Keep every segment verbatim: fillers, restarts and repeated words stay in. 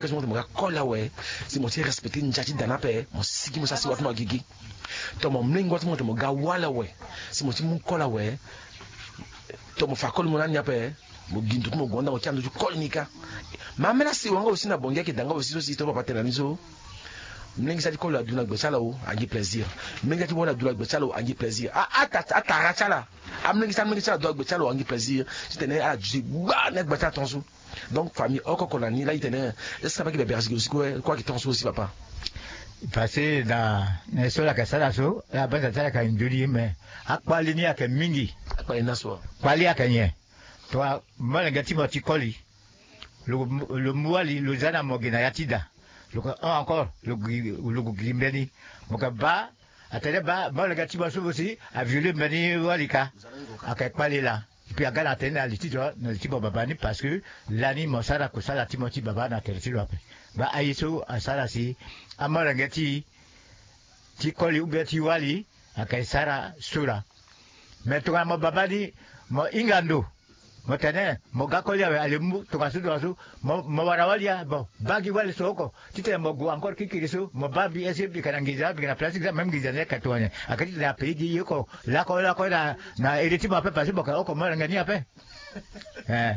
Kasi mo tene mo ga koli awe, si mo ti respecte ndia ti da ni ape, mo sigi mo sara si wa ti mo agigi. Tongana mo mlenge wa ti mo tene mo ga wali awe, si mo ti mu koli awe, tongana mo fa koli mo na ni ape, mo gi ndo ti mo gue nda mo ti ando ti koli ni kâ. Mais ambeni asi wanga aussi na bongi ayeke da nga aussi so si to papa tene na ni so. Mlenge ti sara ti koli adu na gbe ti ala o, angi plaisir. Mlenge ti sara ti wali adu na gbe ti ala o, angi plaisir. Atara ti ala, amlenge ti sara ti mlenge ti ala adu na gbe ti ala o, angi plaisir. Titene ala duti gba na gbe ti ala tongaso. Donc famille oko oko na ni laa e tene, est-ce que na baa yeke bebere asi gi lo si kue kue ayeke tongaso aussi papa? Parce que na na ye so ala yeke sara so, ala banza ti ala yeke nzoni ye me. Akpali ni ayeke mingi. Akpali ni aso. Kpali ayeke nyen? Tongana molenge ti mo ti koli, lo mu wali lo za na mo gi na ya ti da, lo ke hon encore, lo gue giri mbeni. Mo ke baa, atene baa molenge ti mo so mo si aviole mbeni wali kâ. Ayeke kpali laa. Puis aga na tene na li ti lo, na li ti mo baba ni, parce que lani mo sara kusala ti mo ti baba na tere ti lo ape. Baa aye so asara si amolenge ti ti koli ou bien ti wali ayeke sara so laa. Mais tongana mo baba ni, mo hinga ndo, mo tene mo ga koli awe, ale mu tongaso tongaso, mo wara wali ya, bon, baa gi wali so oko. Titene mo gue encore kikiri so, mo baa mbi ese mbi yeke na nginza, mbi yeke na place ti gza, même nginza ni ayeke tongana nyen? Ayeke titene apayi gi ye oko lakue lakue na ere ti mo ape, parce que mo yeke oko molenge ni ape. Eh.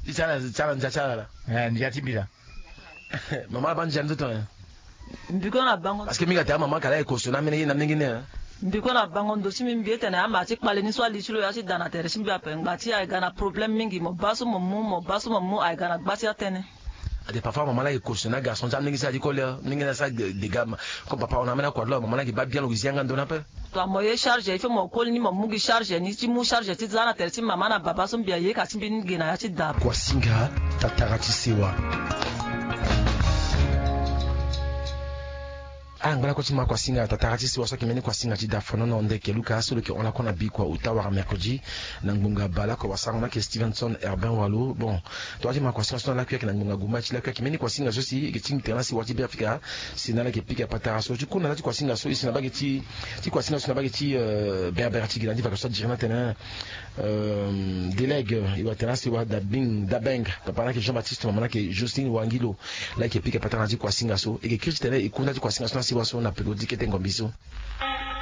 Ti ala ti ala ndia ti ala laa. Eh, ndia ti mbi laa. Mama abaa ndia ni so tongana nyen? Mbi kue na bango. Parce que mingi atene amama ka laa e koso na amene ye na mingi ni. Mbi kue na bango ndo ti mbi, mbi etene ama ti kpale ni so ali ti lo ya ti da na tere ti mbi ape, ngba ti aye ga na problème mingi, mo baa so mo mu, mo baa so mo mu, aye ga na gba ti atene. Ade parfois mama laa e koso na garçon ti amlenge ti ala ti koli, mlenge ni asara dega. Comme papa hon na amene akua ti lo, mama laa ayeke baa bien lo, lo zi yanga ndo ni ape. Tongana mo ye charge, il faut mo koli ni mo mu gi charge ni, ti mu charge ti za na tere ti mama na baba so mbi aye ka ti mbi ni ge na ya ti da. Kuasinga, tatara ti sewa. Ala ngba lakue ti ma kuasinga, tatara ti sewa so ayeke mbeni kuasinga ti da fonono ndeke Luka so lo yeke hon lakue na bikua ota wala mercredi na ngbonga baleoko wasarango ni ayeke Stevenson Herbin Walo. Bon, tongana ti ma kuasinga so na lakui ayeke na ngbonga gumba ti lakui ayeke mbeni kuasinga so si e yeke ti tene na sewa ti Beafrika. Si na ala yeke pika patara so ti kunda na ti kuasinga so, e si na bage ti ti kuasinga so na bage ti berbere ti gi na ti vacances so adiri na tene, délègue e wara tene na sewa Dabing Dabeng, papa na ayeke Jean Baptiste, mama na ayeke Jocelyne Wangilo. La e yeke pika patara na ti kuasinga so, e yeke kiri titene e kunda ti kuasinga so na sewa so na peko ti kete ngombi so.